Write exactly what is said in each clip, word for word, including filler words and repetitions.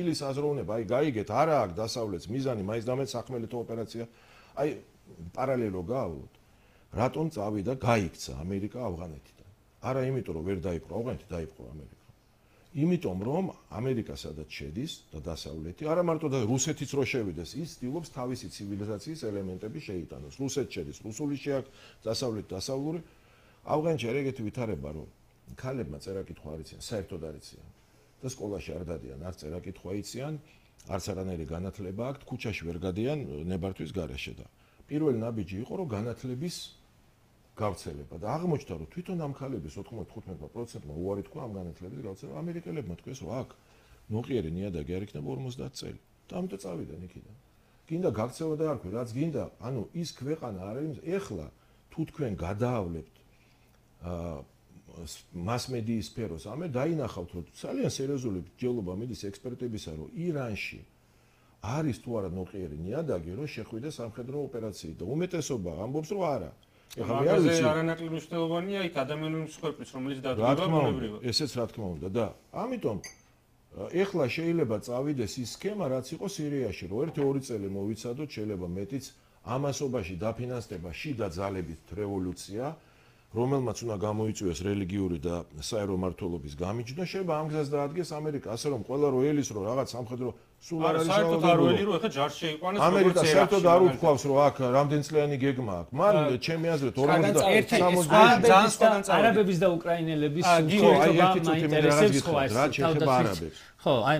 ის აზროვნება, აი გაიგეთ, არა აქვს დასავლეთს მიზანი, მაინც და მაინც სახმელეთო ოპერაცია. აი პარალელო გავავლოთ. რატომ წავიდა გაიქცა ამერიკა ავღანეთიდან? არა იმიტომ რომ ვერ დაიპყრო ავღანეთი, დაიპყრო ამერიკა. იმიტომ რომ ამერიკა სადაც შედის და დასავლეთი, არა მარტო და რუსეთიც რო შევიდეს, ის ცდილობს თავისი ცივილიზაციის ელემენტები შეიტანოს. რუსეთს შედის, რუსული შეაქვს, დასავლეთი დასავლური. ავღანეთში არ ეგეთი ვითარება რომ ქალებმა წერა-კითხვა არ იციან, საერთოდ არ იციან. და სკოლაში არ დადიან, არც წერა-კითხვა იციან, არც არანაირი განათლება აქვთ, ქუჩაში ვერ გადიან ნებართვის გარეშე და პირველი ნაბიჯი იყო რომ განათლების გავრცელება და აღმოჩნდა რომ თვითონ ამ ქალების ოთხმოცდახუთმეტ პროცენტმა უარი თქვა ამ განათლების გავრცელება. ამერიკელებმა თქვეს რომ აქ ნოყიერი ნიადაგი არ იქნება ორმოცდაათ წელი. და ამიტომ წავიდნენ იქიდან. გინდა გაქცევა და არ ქვი, რაც გინდა, ანუ ის ქვეყანა არ არის, ეხლა თუ თქვენ გადაავლებთ აა მასმედიის სფეროს, ამე დაინახავთ რომ ძალიან სერიოზული ჯელობა მიდის ექსპერტებისა რომ ირანში არის თუ არა ნოყიერი ნიადაგი რომ შეხვიდეს სამხედრო ოპერაციით და უმეტესობა ამბობს რომ არა. ეხლა მე არ ვიცი არანაკლები მნიშვნელოვანია იქ ადამიანური მსხვერპლის რომელიც დადგება ბუნებრივად. ესეც რა თქმა უნდა და ამიტომ ეხლა შეიძლება წავიდეს ის სქემა რაც იყო სირიაში რომ ერთი ორი წელი მოვიცადოთ შეიძლება მეტიც ამასობაში დაფინანსდება შიდა ძალებით რევოლუცია რომელმაც უნდა გამოიწვიოს რელიგიური და საერო მმართველობის გამიჯნა შეიძლება ამ გზას დაადგეს ამერიკა ასე რომ ყველა რო ელის რომ რაღაც სამხედრო სულ არ არის საერთოდ არ ველი რომ ეხლა ჯარში შეიყვანეს ამერიკა საერთოდ არ უთქვავს რომ აქ რამდენწლიანი გეგმა აქვს მან ჩემი აზრით ორმოცდაერთი არაბების და უკრაინელების ურთიერთობა მაინტერესებს ხო ეს თავდაცვის ხო აი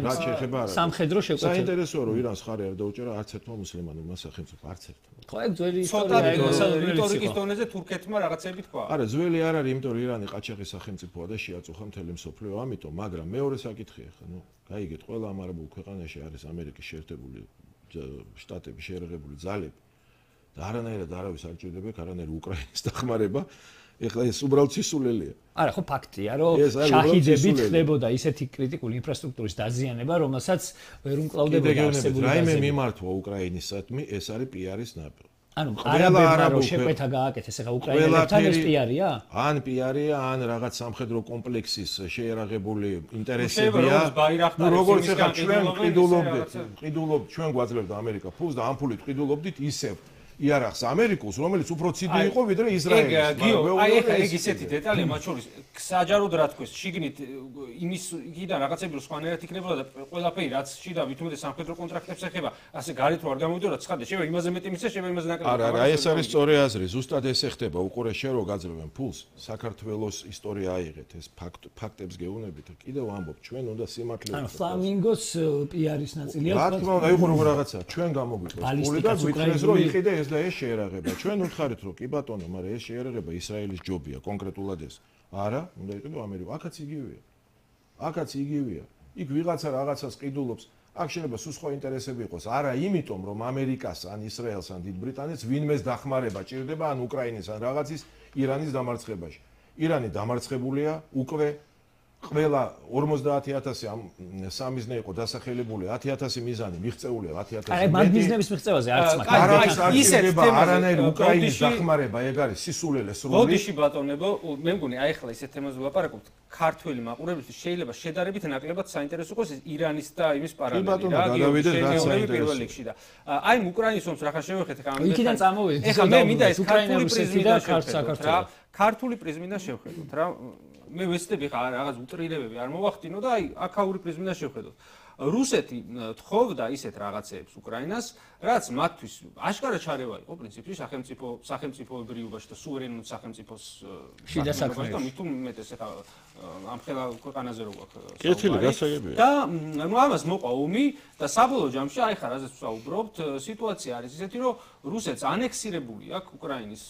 სამხედრო შეკვეთა საინტერესოა რომ ირანს ხარი არ დაუჭერა არც ერთმა მუსლიმანურმა სახელმწიფომ არც ერთმა ხო ეგ ძველი ისტორია რიტორიკის დონეზე თურქეთმა რაღაცები თქვა არა ძველი არ არის იმიტომ რომ ირანი ყაჩაღის სახელმწიფოა და შეაწუხა მთელი მსოფლიო ამიტომ მაგრამ მეორე საკითხია ხა ნუ გაიგეთ ყველა ამ არაბულ ქვეყანაში არის ამერიკის შეერთებული შტატების შეერაღებული ძალები და არანაირად არავის არ ჭირდება არანაირი უკრაინის დახმარება ეხლა ეს უბრალოდ სისულელია არა ხო ფაქტია რომ შაჰიდებით ხდებოდა ისეთი კრიტიკული ინფრასტრუქტურის დაზიანება რომელსაც ვერ უმკლავდებოდა არსებული რაიმე მიმართვა უკრაინისადმი ეს არის პიარის ნაბიჯი ანუ არაბებმა რომ შეკვეთა გააკეთეს ეხლა უკრაინელებთან ეს პიარია ან პიარია ან რაღაც სამხედრო კომპლექსის შეერაღებული ინტერესებია ნუ როგორც ეხლა ჩვენ ყიდულობდით ყიდულობ ჩვენ გვაძლევდა ამერიკა ფულს და ამ ფულით ყიდულობდით ისევ იარაღს ამერიკულს რომელიც უფრო ციდი იყო ვიდრე ისრაელის ეგ გიო აი ეხლა ეგ ისეთი დეტალია მათ შორის საჯაროდ რა თქვეს შიგნით იმის იქიდან რაღაცები რო სხვანაირად იქნებოდა და ყველაფერი რაც შიდა ვითომდეს სამხედრო კონტრაქტებს ეხება ასე გარეთ რო არ გამოვიდო რა ცხადია შეიძლება იმაზე მეტი მისცეს შეიძლება იმაზე ნაკლები არა არა ეს არის სწორი აზრი ზუსტად ეს ეხება უყურე შენ რო გაძლევენ ფულს საქართველოს ისტორია აიღეთ ეს ფაქტებს გეუბნებით კიდევ ამბობ ჩვენ უნდა სიმართლე ანუ ფლამინგოს პიარის ნაწილია რა თქმა უნდა იყო როგორ რაღაცა ჩვენ გამოგვიყვეს ფული და გვითხრეს რომ იყიდე ეს და ეს შეერაღება ჩვენ უთხარით რომ კი ბატონო მაგრამ ეს შეერაღება ისრაელის ჯობია კონკრეტულად ეს არა უნდა იყიდო ამერიკა აქაც იგივეა აქაც იგივეა იქ ვიღაცა რაღაცას ყიდულობს აქ შეიძლება სულ სხვა ინტერესები იყოს არა იმიტომ რომ ამერიკას ან ისრაელს ან დიდ ბრიტანეთს ვინმეს დახმარება ჭირდება ან უკრაინის ან რაღაცის ირანის დამარცხებაში ირანი დამარცხებულია უკვე ყველა ორმოცდაათი ათასი ამ სამიზნე იყო დასახელებული ათი ათასი მიზანი მიღწეულია ათი ათასი აი მაგ მიზნების მიღწევაზე არც მაგ ისეთ არანაირი უკრაინის დახმარება ეგ არის სისულელე სრული ბოდიში ბატონებო მე მგონი აი ახლა ისეთ თემაზე ვლაპარაკობთ ქართველი მაყურებლისთვის შეიძლება შედარებით ნაკლებად საინტერესო იყოს ირანის და იმის პარალელი რა პირველ რიგში და აი უკრაინის ომს რახან შევეხეთ ხა ამ იქიდან წამოვიდეთ ეხლა მე მინდა ეს ქართული პრიზმიდან შევხედოთ რა ქართული პრიზმიდან შევხედოთ რა მე ვეცდები ხა რაღაც უტრირებები არ მოვახდინო და აი აქაური პრიზმიდან შევხედოთ რუსეთი თხოვდა ისეთ რაღაცეებს უკრაინას რაც მათთვის აშკარა ჩარევა იყო პრინციპში სახელმწიფო სახელმწიფოებრიობაში და სუვერენულ სახელმწიფოს შიდა საქმეებში და მით უმეტეს ხა ამ ხელა ქვეყანაზე რო გვაქვს კეთილი გასაგებია და ნუ ამას მოყვა ომი და საბოლოო ჯამში აი ხა რაზეც ვსაუბრობთ სიტუაცია არის ისეთი რომ რუსეთს ანექსირებული აქვს უკრაინის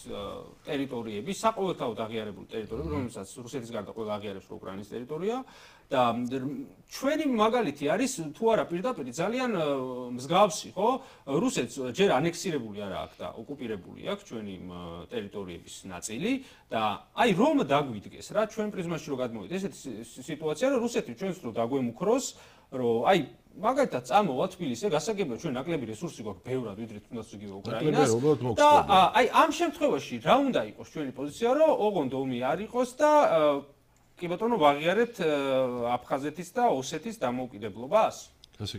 ტერიტორიები საყოველთაოდ აღიარებული ტერიტორიები რომელსაც რუსეთის გარდა ყველა აღიარებს რომ უკრაინის ტერიტორია და ჩვენი მაგალითი არის თუ არა პირდაპირ ძალიან მსგავსი ხო რუსეთს ჯერ ანექსირებული არა აქვს და ოკუპირებული აქვს ჩვენი ტერიტორიების ნაწილი და აი რომ დაგვიდგეს რა ჩვენ პრიზმაში რო გადმოვიდეთ ესეთი სიტუაცია რომ რუსეთი ჩვენს რო დაგვემუქროს რომ აი მაგალითად წამოვა თბილისზე გასაგებია ჩვენ ნაკლები რესურსი გვაქვს ბევრად ვიდრე თუნდაც იგივე უკრაინას და აი ამ შემთხვევაში რა უნდა იყოს ჩვენი პოზიცია რომ ოღონდ ომი არ იყოს და კი ბატონო ვაღიარებთ აფხაზეთის და ოსეთის დამოუკიდებლობას ასე იგი